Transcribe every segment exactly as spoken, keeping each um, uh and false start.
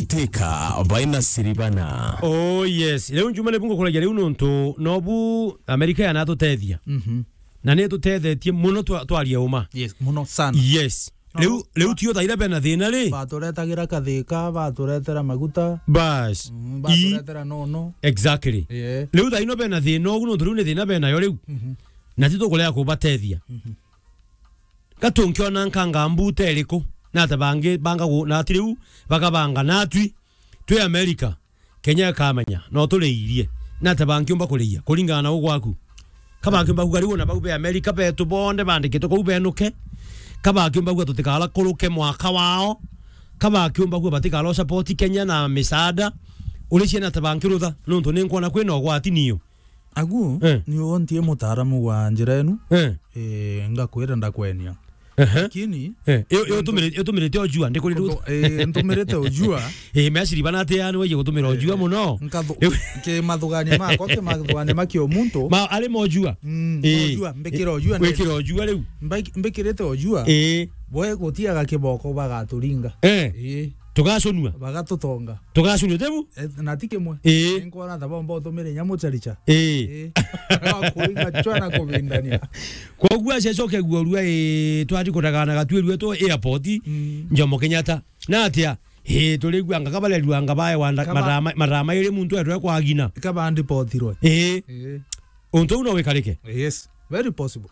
Teka baina siribana. Oh yes. Riu Njuma ni bungu kuragia riu nontu nobu Amerika yanatutethia. Mhm. Na ni tutethetie muno twa-, twaria uma. Yes, muno sana. Yes. No. Riu, riu tio thaira bena thina ri? Baturetagira kathika, baturetera maguta. Bas. Mm, I- baturetera nono. Exactly. Yeah. Riu thaino bena thina ugu nontu riu ni thina benayo riu. Mhm. Na titukurea kubatethia. Mhm. Gatunkiona nkanga mbuta iriku? Nate bangi banga gu-, nati riu bagabanga natwi twi Amerika. Kenya ikamenya, no turiirie. Nate bankiumba kuriia, kuringana na ugwaku. Ka bankiumba kuga riu ona bau be Amerika betu bonthe bandikitwe kuu benuke. Ka bankiumba kuga tutikara kuruke mwaka wao. Ka bankiumba kuga batikara support Kenya na misaada. Uri ciana ta bankirutha, nontu ni nkwona kwina ugwati niyo. Agu, eh, ni untie mutaaramu wa njira enu. Eh. Eh, ngakwira ndakwenia. Ehe. Lakini, eh, yo, yo ntu-, tumire-, yo tumirite ojua, ndikuri ru-, ntu-, eh, ntumirite ojua. Eh, meciri bana ati yani weje gutumira ojua, eh, muno. Nkathu-, eh, ki mathugania makwa, ki mathugania ma kiomuntu. Ma, ari mojua. Mm, eh, mojua, mbikira ojua, wikira ojua riu. Mbai-, mbikirite ojua. Eh. Boe gutiaga kiboko bagaturinga. Eh. Eh. Tugacunua. Bagatutonga. Tugacunua, tebu? Eh, na ti kimwe. Ii. Nkwona ta bomba utumire nyamu charicha. Ii. Ii. Kuringa chwa na kubindania. Koguo acia coke guorua, ii, twari kutagana gatwirue tu airport, mm, Jomo Kenyatta. Na atia? Ii, turigua anga kabarerua anga bae wanda, kaba-, marama, marama iri muntu etwe kwagina. Kaba ndipotirwe. Ii. Ii. Untu uu no wikarike? Yes, very possible.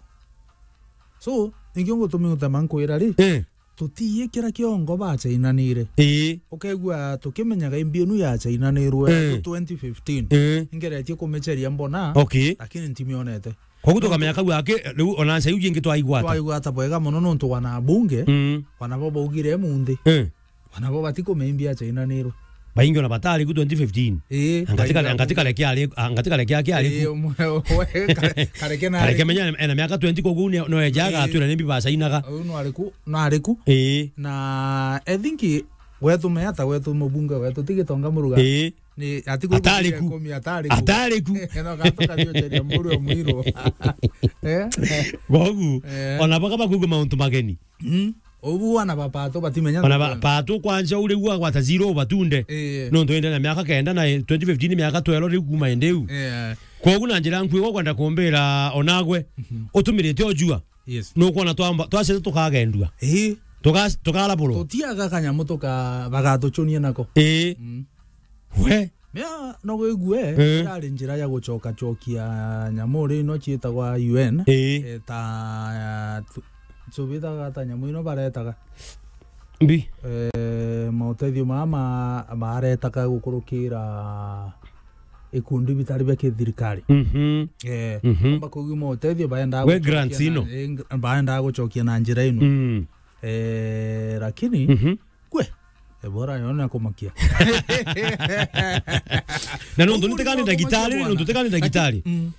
So, nikio ngutumi utema nkwira ri, eh, tutiikira kiongo bachainanire. Ii. Ukegua tukimenyaga imbi inu yachainanirwe, eh, tu twenty fifteen. Eh. Ngeretie kumicheria mbona, okay, lakini ntimionete. Koguo tukamenya kau aki, riu ona ncha iu jingi twaigwata. Twaigwata bwega muno nontu wana bunge, mm, wana bo baugire munthi. Eh. Wana bo batikumenya imbi yachainanirwe. Baingi ona batari ku twenty fifteen. Ii, angatika, baingi angatika baku- reke ari, angatika reke aki ari ku. Ii, umwe, we, ka-, kareke na kareke ari ku. Menya ena miaka twenty koguo ni, no eja, ii, agatwira ni mbi bachainaga. Uyu no ari ku, no ari ku. Ii. Na I think wetu me ata wetu mubunge wetu ti Gitonga Muruga. Ii. Ni ati ku atari ku. Ikumi atari ku. Atari ku. No gatuka ndio cheria mburu mwiru. Eh? Bogu, eh, ona baka bakuga mauntu mageni. Mm. Ubu wana ba Pato batimenya. Ona ba-, Pato kwanza uri gwa gwata zero batunde. Eh. Nontu ende na miaka kenda na twenty fifteen miaka twelve riu kuma ende u. Eh. Kogu na njira nkui gwa kwenda kumbira onagwe. Mhm. Utumirite ojua. Yes. Nukwona twamba, twacete tukagendua. Eh. Tuka-, tukarabulwa. Tutiaga kanyamu tuka-, bagatuchunia nako. Eh. Mm. We. Mea, no wigue, eh, irari njira ya gucokacokia nyamu ri ino ciitagwa U N. Ii. Eh, ta, tu-, tubitaga ta nyamu ino baretaga. Mbi. Eh, mautethio maa ma-, maretaga gukurukira ikundi bitari bia kithirikari. Mhm. Eh, mhm, amba kuugi mautethio baendaga we gucokia grants na, ino, eh, ng-, baendaga gucokia na njira ino. Mm. Eh, lakini, mhm. Kwe, Ebola yo ni ya kumakia. Na nontu ni tekani ndagitari, nontu tekani ndagitari. Mm.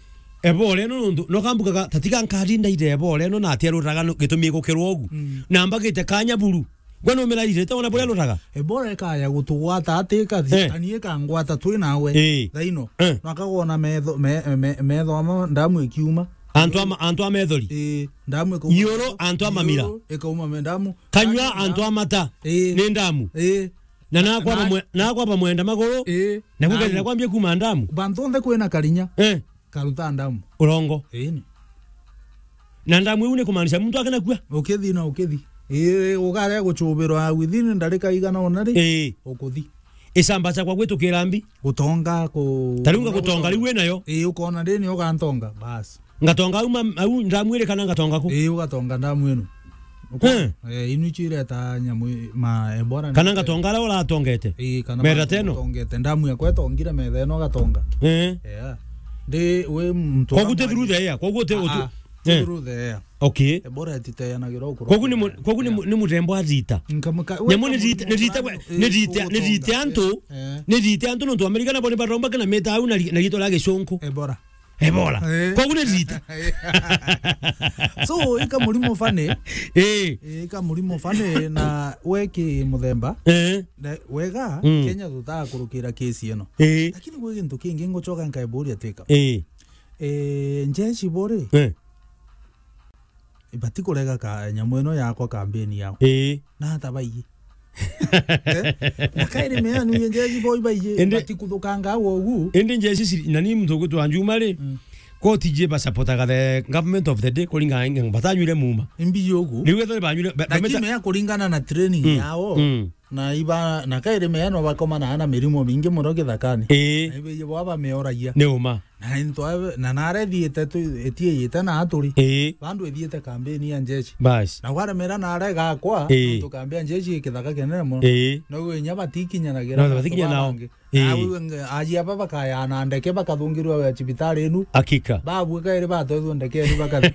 Ebola ino nontu, no kambukaga, tatiga nkari ndaire Ebola ino na atia ruraga no gitumi igukirwa ugu. Mm. Na mbagite kanya buru. Gwe no miraire, te ona buria ruraga. Ebola ikaya gutugwata ati ikathi, eh, ani ikangwata twi nawe. Eh. Thaino. Eh. No akagona metho, me-, me-, metho ama ndamu ikiuma. Antu ama, antu a methori. Eh, ndamu ikauma. Iuru, antu a mamira. Iuru, ikauma me ndamu. Kanyua antu a mata. Ii. Ni ndamu. Ii. Na nakwaba mwe-, nakwaba mwenda maguru. Ii. Na kugerera kwambia kuma ndamu. Bantu onthe kwina karinya. Eh. Karuta ndamu. Urongo. Ii ni. Na ndamu iu ni kumaanisha muntu akena kua. Ukithi na ukithi. Ii, ugare guchubirwa within ndarika igana ona ri. Ii. Ukuthi. Icamba ciakwa gwitukira mbi. Gutonga ku-, tariu ngagutonga riu winayo. Ii, ukona ndini ugantonga, bas. Ngatonga au ma-, au ndamu iri kana ngatonga ku? Ii, ugatonga ndamu ino. Uko-, eh, eh, inu icio ireta nyamu i-, ma Ebola. Kana ngatonga aria uratongete? Ii, kana metha teno? Utongete. Ndamu yakwa itongire metha ino ugatonga. Eh. Yeah. Ndi wi muntu. Kogu ti through the air, kogu ti utu-, ah, ah, ti, eh, through the air. Okay. Ebola ititeanagira ukuru. Kogu ni mu-, kogu ni mu-, ni muthemba wa thita. Nyamu ni thita, ni thita, ni thita, ni thita antu, eh, ni thita antu nontu Amerika nabo ni baromba kana meta au na ri-, na rito ria gicunku. Ebola. Ebola. Eh. Kogu ni thita. So, ika murimo fane. Eh. Ika murimo fane na weki muthemba. Eh. Na wega, mm, Kenya tutaga kurukira kesi ino. Eh. Lakini gwi gintu kingi ngucoka nkaiburia tika. Eh. Eh, njeshi bori. Eh. Ibati kurega ka nyamu ino yakwa kambeni yao. Ii. Na ata baii. Eh? Na kairi meanu ye njeshi boy baije, Indi- batikuthukanga au ugu. Indi njeshi ciri, na ni muntu ugwitwa Njuma ri, Mm. koti je basapotaga the government of the day, kuringana na batanyuire muma. Imbi ugu. Riu ethire banyuire, ba-, Lakini bameta- mea kuringana na training Mm. yao. Mm. Na iba, na kairi meano bakomana na mirimo mingi muno githakani. Ii. Na ibe ibo aba meoragia. Ni uma. Na into abe, na nare thiete tu, etieyite na aturi. Ii. Bandu ethiete kambeni ya njeshi. Bas. Na waremera nare gakwa, Ii. nontu kambi ya njeshi ikithaka kenene muno. Ii. Na uwe nya batikinyanagira No, na batikinya antu nao. Bangi. Ii. Na uwe nge-, aji aba bakaya na ndeke bakathungirwa we cibitari inu. Hakika. Babu kairi batwethwo ndeke ni bakathi.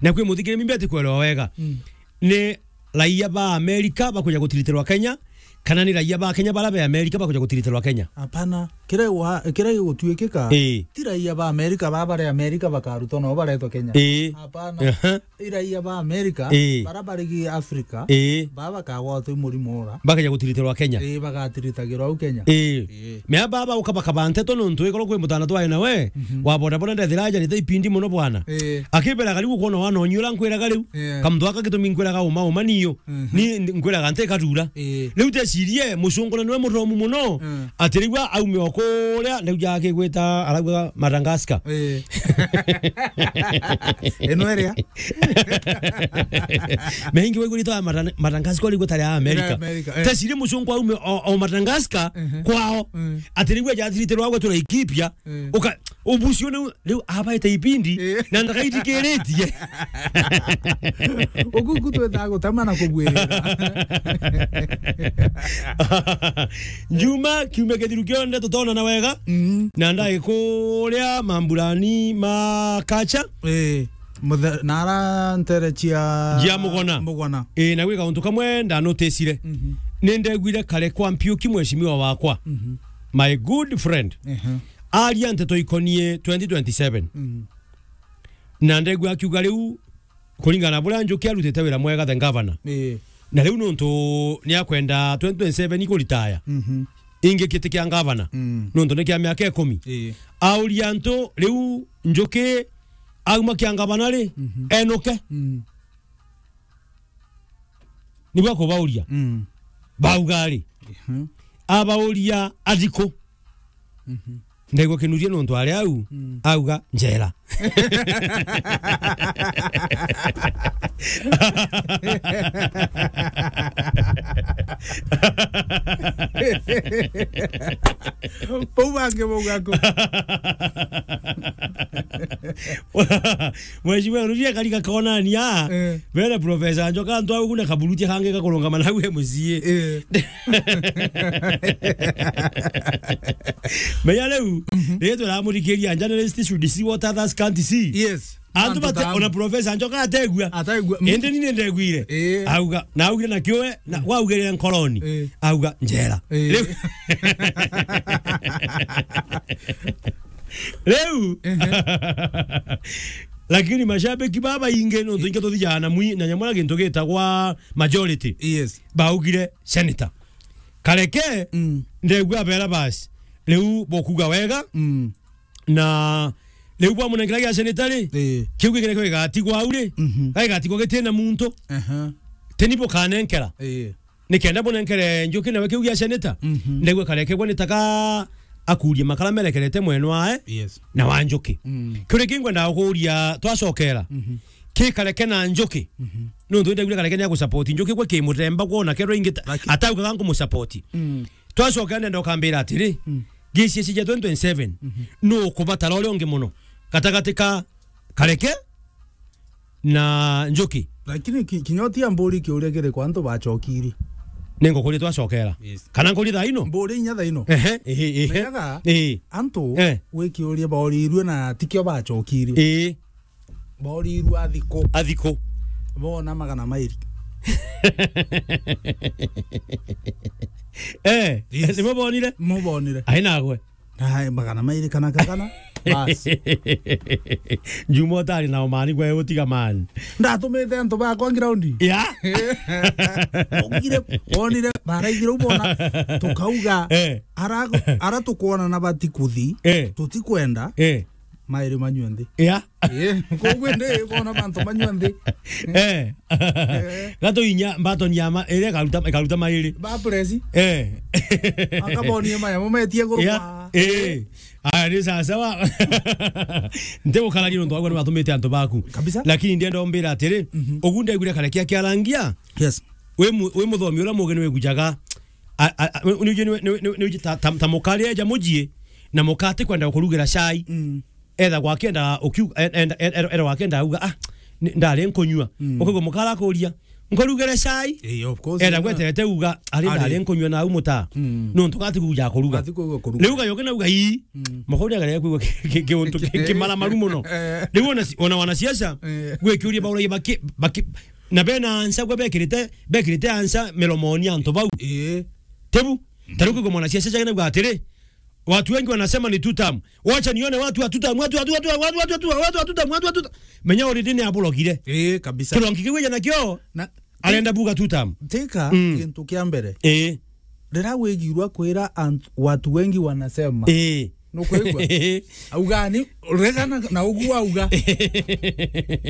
Na kwi muthikire mimbi ati kwelewa wega. Mm. Ni raia ba Amerika bakuja gutiritirwa Kenya, kana ni raia ba Kenya bara be Amerika bakuja gutiritirwa Kenya? Hapana. Kira wa-, kira gigutuikika, Ii. ti raia ba Amerika ba bare Amerika bakarutwa nao baretwa Kenya. Ii. Hapana. Aha. I raia ba Amerika, Ii. bara bari gi Afrika, Ii. ba bakagwatwa i murimo ura. Bakaja gutiritirwa Kenya? Ii, bagatiritagirwa au Kenya. Ii. Ii. Mea baba uka bakaba nteto nontu ikorwo kwi mutana twae nawe, Mhm. wa bodaboda ndethira ajanite ipindi muno bwana. Ii. Akibera karibu kwona wana onyu ura nkwiraga riu. Ii. Kamtu aka gitumi nkwiraga uma uma niyo. Mhm. Ni ndi-, nkwiraga nte katura. Ii. Riu tecirie mucungure niwe muromu muno. Mm. Ati riu aume o kuria, riu jake gwita arauga Madagascar. Ii. Ino iria. Meingi waigurite wa Mada-, Madagascar riu gutari a Amerika. Ira Amerika, eh. Tecirie mucungwa aume o, o Madagascar Mhm. kwao. Mm. Ati riu ajathirite rwa gwetu Laikipia. Mm. Uka-, ubucio ni riu abaite ibindi Eh. na ndakaithikiritie. Uku, uku twethaga gutema na kubuirira. Njuma kiumia kithiru kionde tutonana wega. Mm. Na ndai kuria mamburani ma kacha. Eh, muthe-, na ara ntere cia Cia Mugona. Mugona. Eh, na gwika untu kamwe ndanotisire. Mhm. Ni ndegwire kare kwa Mpiuki mheshimiwa wakwa. Mhm. My good friend. Ehe. Aria nteto ikonie twenty twenty-seven. Mhm. Na ndegua akiuga riu, kuringana na buria Njuki arutite wira mwega the governor. Ii. Na riu nontu ni akwenda twenty twenty-seven ikuritaya. Mhm. Ingi kiti kia governor. Mm. Nontu ni kia miaka ikumi. Ii. Auria antu riu Njuki auma kia governor ri, Mhm. enuke. Mm. Nibwa kubauria. Mm. Bauga ri. Mhm. Abauria athiko. Mhm. Ndaigua kinuria nontu ari au, Mm. auga njera. Bau bangi bauga ku. Mheshimiwa Ruria kari gakonania, Eh. bere Professor Njoka antu au kuna kaburutia kangi gakurungama nau M C A. Eh. Menya riu, Mhm. riria turamurikiria journalist should see what others can't see. Yes. Antu Antu bate, tamu. Ona Professor Njoka ategua. Ataigua. Mm. Indi ni nindegwire. Eh. Auga, na augire na kiwe, na waugire nkoroni. Eh. Auga njera. Eh. Riu Riu. Ehe. Lakini mashabiki baba ingi no tuinge tuthijaga na mwi-, na nyamura gintu gitagwa majority. Yes. Baugire senator. Kareke, Mm. ndegua bera basi. Riu bokuga wega. Mm. Na riu bwa munengera gia senator ri, Eh. kiu gikire kio gigatigwa au ri. Mhm. Gigatigwa gitina muntu. Aha. Teni bukanenkera. Eh. Nikenda bunenkere Njuki nawe kiu gia senator. Mhm. Ndaigua Kareke bwe nitaka akurie makara merekerete mwena wae Yes. na wa Njuki. Mm. Kiu ringi ngwenda gukuria twacokera. Mhm. Ki Kareke na Njuki. Mhm. Nontu ndaigua Kareke ni agusupport Njuki gwe ki muthemba kwona kero ingi ta-, Laki- ataugaga nkumusupport. Mm. Twacokera ndenda ukambira atiri, Mm. G C S E cia twenty twenty-seven, Mhm. nu ukubatara uria ungi muno gatagati ka Kareke na Njuki. Lakini ki-, kinya utia mburi kiuria kiri kwa antu bacokirie. Ni ngukuria twacokera. Yes. Kana ngukuria thaa ino? Mburi inya thaa ino. Ehe, ehe, ehe. Menyaga, Ehe. antu Eh. gwi kiuria borirue na tikio bacokirie. Ehe. Borirue athiko. Athiko. Bona magana mairi. Eh, Yes. nimo bonire? Mo bonire. Ai nagwe. Ai, magana mairi kana kagana. Bas. Njuma utari na umani gwe utiga man. Ndatumite antu bakwa ground. Ya. Ugire, wonire, baraigire ubona, tukauga, Eh. ara, ara tukwona na batikuthi, Eh. tutikwenda. Eh. Mairi manyua nthi. Ya. Eh, koguo ndi bona bantu manyua nthi. Eh. Eh. Gato inya mbaton ya ma, ere karuta, karuta mairi. Ba press. Eh. Akabonie maya, mumetie nguru. Ya. Eh. Aya, ni sawa sawa. Nte gukararia nontu wagwa ni batumite antu baku. Kabisa. Lakini ndienda umbira atiri, mhm, ugu ndegwire kare kia kiarangia. Yes. Wi mu-, wi muthomi uria mugi ni wigujaga. A, a, a, ni uji, ni, ni, ni, ni uji ta, ta, ta mukari eja mujie, na mukati kwenda kurugira chai. Mm. Etha gwakenda ukiu-, e-, enda, e-, e-, era gwakenda uga, "Ah, ni, ndari nkunyua." Mm. Ukaigua mukara akuria, "Nkurugere chai?" Eh, of course, enda yeah. Gwetete uga, "Ari, ari, ndari nkunyua na au muta." Mm. Nontu gati kuja kuruga. Gati kuja kuruga. Riu uga yoke na uga, "Ii." Mm. Mukauria gare kuigua ki-, ki-, kiuntu ki-, kimaramaru muno. Eh. Riu ona si-, ona wanasiasa, eh, gwikiuria bauragia baki-, baki-, na bena ansa gwe bekirite, bekirite ansa miromoni antu bau. Eh. Tebu, ta riu kuigua mwanasiasa jage na uga atiri, "Watu wengi wanasema ni two term. Wacha nione watu wa two term, watu, watu, watu, watu wa two term, watu wa two term." Menya already ni aburogire. Eh, kabisa. Kirongi kiu eja nakio, na arenda buga two term. Tika, mm, gintu kia mbere. Eh. Riria wigirwa kwira ant-, watu wengi wanasema. Eh. Nukwigua? Auga ni, regana na ugu auga.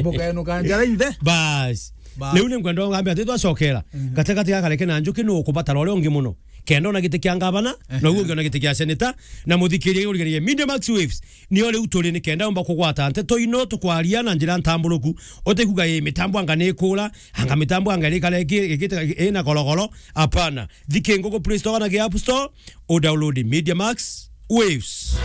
Bukenuka njara inthe. Bas. Bas. Riu ni ngwenda ngambe ati twacokera. Mhm. Gatigati ga Kareke na Njuki nu ukubatara uria ungi muno. Kenda ona giti kia ngavana, ehe, na uguo ungi ona giti kia seneta, na muthikiria urigerie Media Max Waves. Nio riu turi ni kenda umba kugwata nteto ino tukwaria na njira ntamburuku. Utikuga, "Ii, mitambo anga ni ikura, anga mitambo anga irikara iki-, ikite ina gorogoro." Hapana. Thiki ngugu Play Store kana ki App Store, u download Media Max Waves.